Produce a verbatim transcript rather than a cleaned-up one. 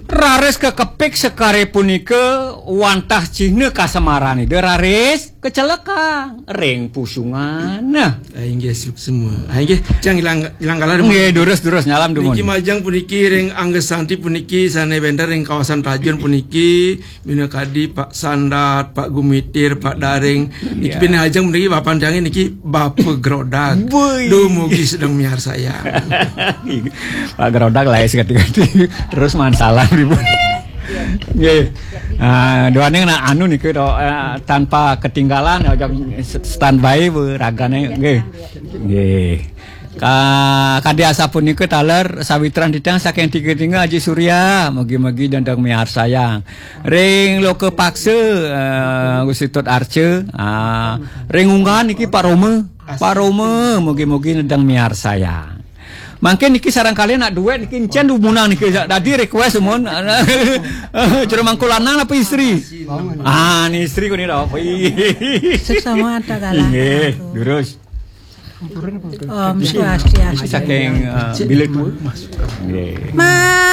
Raris kakepik sekare punika wantah cihna kasemaran Ida raris kacelekang ring pusungan. Nah. Ah, inggih, suksma. Ah, inggih, cang ilang, ilang kalah. Nggih, durus, durus, nyalam dumun. Niki majeng puniki ring Angga Santi puniki sane wenten ring kawasan Tajun puniki, minakadi Pak Sandat, Pak Gumitir, Pak Daring. Niki pinih ajeng puniki bapan tiange niki Bapa Grodag. Duh, mugi sedeng miarsayang. Pak Grodag lae sekati-kati. Terus mansalan ibu. Nggih. Ah, duaning nak anu niku to, eh, tanpa ketinggalan, ojok standby bu ragane. Nggih. Nggih. Ka-, kadi asapunika taler sawitran titiang saking tiga tinggal Aji Surya, mugi-mugi dendeng miarsayang. Ring Loka Paksa, eh, Gusti Tut Arca, ah, ring Unggahan niki Pak Roma. Pak Roma, mugi-mugi nedeng miarsayang. Mangkin niki sareng kalian nak duet niki encen dumunang niki dadi request mun. Jero mangku lanang apa istri? Ah, ni istri kuni dah. Suksma atau kalah. Nggih, durus. Om Swastiastu. Saking, eh, bila tua. Nggih. Ma